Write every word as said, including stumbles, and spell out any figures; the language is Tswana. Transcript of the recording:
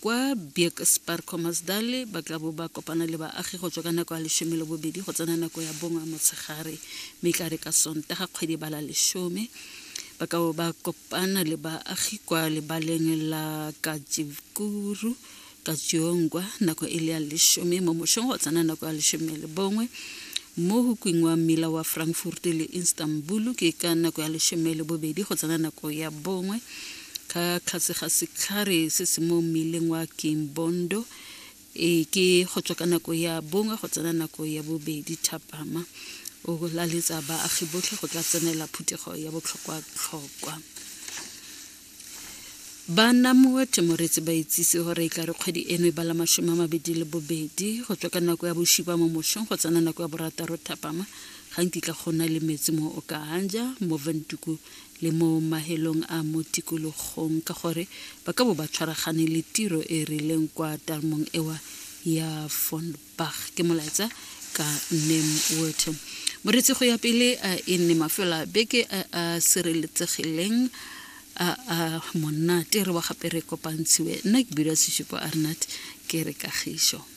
Kwa Bierkspar Khomasdal ba tla bo ba kopana le baagi go tswa ka nako ya lesome le bobedi go tsena nako ya bongwe motshegare, mme e tla re ka Sontaga kgwedi ba la lesome ba ka bo ba kopana le baagi kwa lebaleng la Katjikuru Katjiongwa nako e le ya lesome mo mosong go tsena nako ya lesome le bongwe. Mo hukwing wa mmila wa Frankfurt le Istanbul ke ka nako ya lesome le bobedi go tsena nako ya bongwe. Ka tlase ga setlhare se se mo mmileng wa Kimbondo e ke go tswa ka nako ya bongwe go tsena nako ya bobedi thapama. O laletsa baagi botlhe go tla tsenela phuthego ya botlhokwa-tlhokwa. Ba Namwater moretsi ba itsise gore e tla re kgwedi eno e bala masome a mabedi le bobedi go tswa ka nako ya bosupa mo mosong go tsena nako ya borataro thapama ga nkitla go na le metsi mo Okahandja, mo Windhoek le mo mahelong a mo tikologong, ka gore ba ka bo ba tshwaragane le tiro e rileng kwa tamong ewa ya Von Bach. Ke molaetsa ka Namwater. Moretsi go ya pele a e nne mafelo a beke a a sireletsegileng a a monate re wa gape re kopantshiwe. Nna ke bidwa Seshupo Arnat, ke re kagišo.